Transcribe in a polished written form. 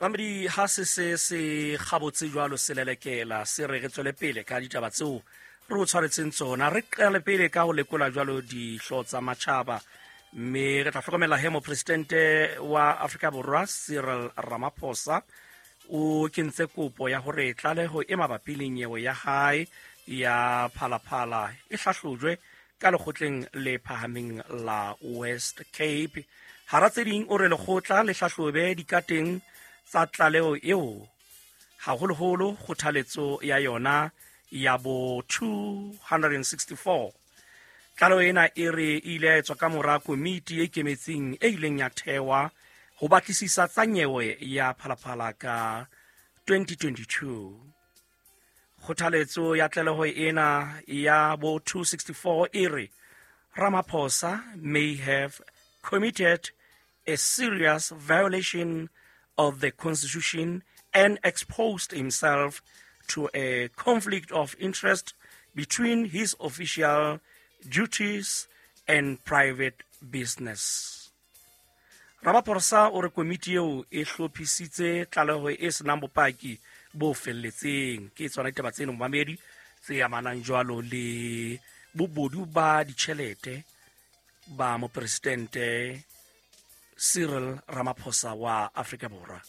Mamedi, ha se se se gabotse jwalo se lelekela, se re re tswele pele ka ditaba tseo re o tshwaretseng tsona. Re qale pele ka ho lekola jwalo dihlo tsa matjhaba, mme re tla hlokomela he mopresidente wa Afrika Borwa Cyril Ramaphosa o kentse kopo ya hore tlaleho e mabapi le nyewe ya hae ya Phalaphala e hlahlojwe ka lekgotleng le phahameng la West Cape. Hara tse ding, o re lekgotla le hlahlobe dikateng tsa tlaleho eo, haholoholo kgothaletso ya yona ya bo 264. Tlaleho ena e re e ile ya etswa ka mora komiti e ikemetseng e ileng ya thewa ho batlisisa tsa nyewe ya Phalaphala ka 2022. Kgothaletso ya tlaleho ena ya bo 264 e re Ramaphosa may have committed a serious violation of the constitution and exposed himself to a conflict of interest between his official duties and private business. Ramaphosa o re komiti eo e hlophisitse tlaleho e senang bopaki bo felletseng. Ke tsona ditaba tseno, momamedi, tse amanang jwalo le bobodu ba ditjhelete ba mopresidente Cyril Ramaphosa wa Afrika Borwa.